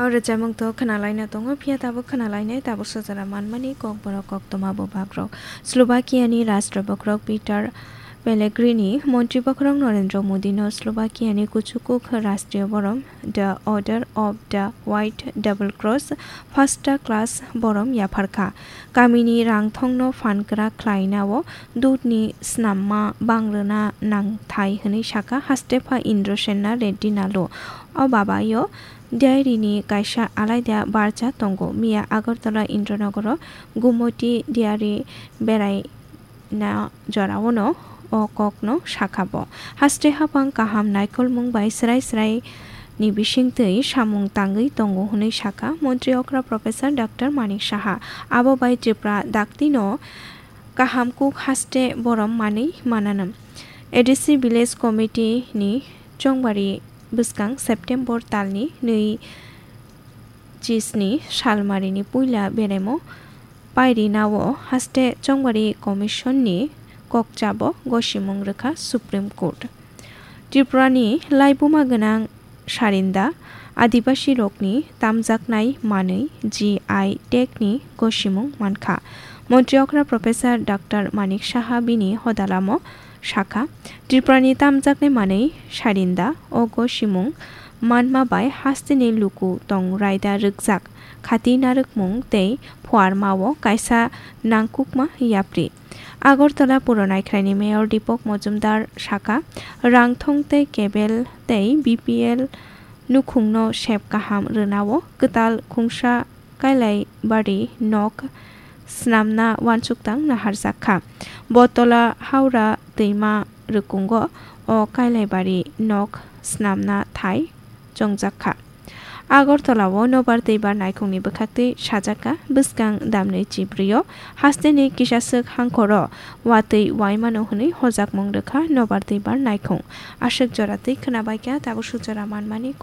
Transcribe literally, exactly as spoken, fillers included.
O rwchapmung to khwnalaina tongo, phiya tabuk khwnalainai tabuk sojora manmani kokborok koktwma bubagrok. Slovakia ni Rashtra bokhorok Peter Pellegrini, montri bokhorok Narendra Modi no Slovakia ni kuchukuk Rashtriya borom, the Order of the White Double Cross, first class borom yapharkha. Kamini rangthongno phankra khlainao dudni snamma bangrwna nangthai hwnwi sakha Hastepha Indrasena Reddy Nalu. O babayo diary ni kaisa alaida barcha tongo. Miya Agartala Indranogoro Gumoti diary berai na joraono o kokno sakha bo. Haste hapang kaham naikolmung bai srai srai ni bisingtwi samung tangwi tongo hwnwi sakha montri okra Professor Doctor Manik Saha. Abo bai Tripura daktino kaham kuk haste borom manwi mananam. A D C Village Committee ni chongbari bwskang September talni nwi chisni salmarini puila beraimo pairinao haste chongbari commission ni kokchabo gosimung rwkha Supreme Court. Tripura ni laibuma gwnang sarinda Adibasi rokni tamjaknai manwi G I tag ni gosimung mankha. Montri okra Professor Doctor Manik Saha bini hodalamo sakha, Tripura ni tamjaknai manwi sarinda o gosimung manma bai hasteni luku tong raida rwkjak khati narwkmung tei phuarmao kaisa nangkukma yapri. Agartala Puro Naikhraini Mayor Deepak Majumdar sakha, rangthong tei cable tei B P L nukhungno sep kaham rwnao kwtal khungsa Kailai bari nok snamna uansukthang naharjak kha. Botola Haura twima rwkungo o Kailai bari nok snamna thai chongjak kha. Agartala o nobar twibar naikhungni bwkhaktwi sajak kha bwskang damnwi chibrio hasteni kisaswk hangkhoro watwi uaimano hwnwi hojakmung rwkha nobar twibar naikhung. Aswk joratwi khwnabaikha tabuk sujora manmani